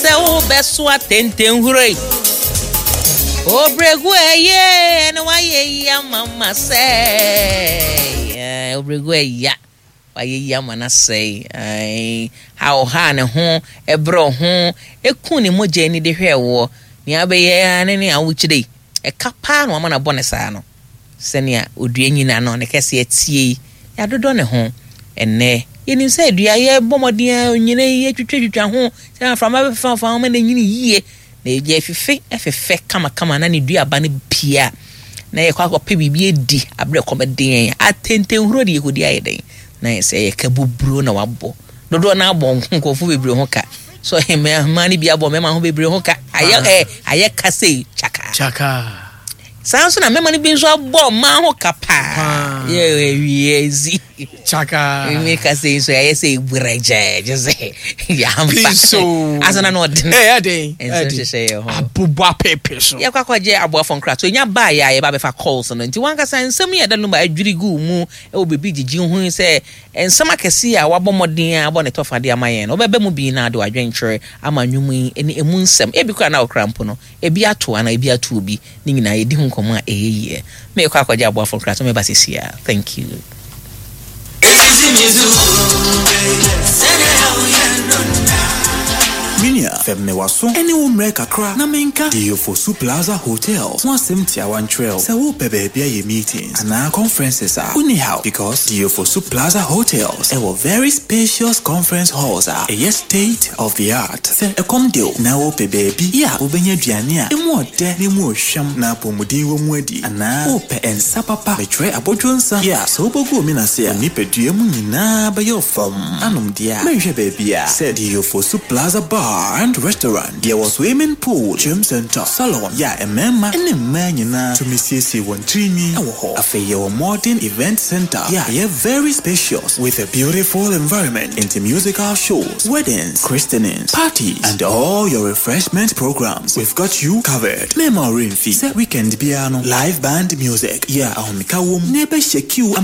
Sɛ wobɛsoa tentenhuro yi. Obregu ɛyɛ na wayɛ yi ama ma sɛ. Obregu ɛya wayɛ yi ama na sɛe. Ae, ha ɔhaa ne ho, ɛbrɛ ho, eku ne mogya ani de hwɛɛ woɔ. Nea wobɛyɛ ara ne nea wokyerɛ yi. Ɛka paa na wama no abɔ ne saa no. Sɛnea odua nyin ano ne kɛseɛ teɛ yi, yɛadodɔ ne ho. Ɛnnɛ, yɛnim sɛ dua yɛbɔ mmɔden a onyina yi yɛtwitwatwitwa ho sɛ mframa bɛfefa ho ma no anyini yie na ɛgya afife ɛfefɛ kamakama na ne duaba no pie a na yɛkɔ akɔpɛ biribi adi aberɛ kɔm de yɛn. Atentenhuro de yɛkɔdi ayɛ dɛn? Na yɛ sɛ yɛ kabuburo na wabɔ. Dodoɔ no abɔ nkurɔfoɔ bebree ho ka. So mmaa no bi abɔ mmarima ho bebree ho ka. Ayɛ ɛ ayɛ ka sei kyaka. Kyaka. Saa nso na mmarima no bi nso abɔ mmaa ho ka paa. Yɛ awie zi. Kyaka. Mi ka sei nso ayɛ sɛ eburɛgyɛ gye sɛ yɛamfa. Pinso. Asana na ɔden. Ɛyɛ den. Nso nhyehyɛ yɛ ho. Abobɔ apepe so. Yɛkɔ akɔgye aboafo nkrato. Enya baa yɛ a yɛba abɛfa calls no. Nti wankasa nsɛm yi a ɛda no mu a adwiri gu mu wɔ biribi gyigye ho yi sɛ nsɛm akɛse a wabɔ mmɔden a abɔ ne tɔfa de ama yɛn no, wobɛba mu bi na ade w'adwenkyerɛ ama nnwom yi ne emu nsɛm. Ebi koraa na wokra mpo no, ebi ato anaa ebi ato obi. Ne nyinaa yɛdi ho nkɔmmɔ a ɛyɛ yie. Merekɔ akɔgye aboafo nkrato meba seesei ara. Thank you. Minia, fɛm me w'aso ne wo mmerɛ kakra na menka The Ofosu Plaza Hotel ho asɛm tiawa nkyerɛ wo. Sɛ wopɛ baabi ayɛ meetings anaa conferences a, wonni haw because The Ofosu Plaza Hotels wɔ very spacious conference halls a ɛyɛ state of the art. Sɛ ɛkɔm de wo na wopɛ baabi a wobɛnya aduane a emu ɔdɛ na emu ɔhwam na apɔmuden wɔ mu adi anaa wopɛ nsa papa, mekyerɛ abodwo nsa a sɛ wobɔgu omena ase a, wo nipadua mu nyinaa bɛyɛ ɔfam anom deɛ a, menhwɛ baabi a sɛ The Ofosu Plaza Bar and Restaurant, yɛwɔ swimming pool, gym center, salon yɛ a mmarima ne mmaa nyinaa tumi siesie wɔn tirinwi wɔ hɔ. Afei yɛwɔ modern event center yɛ a ɛyɛ very spacious with a beautiful environment nti musical shows, weddings, christenings, parties and all your refreshment programs, we've got you covered. Mɛmma wo werɛ mfi sɛ weekend biara no live band music yɛ a ahomeka wom na ɛbɛhyɛ queue ama.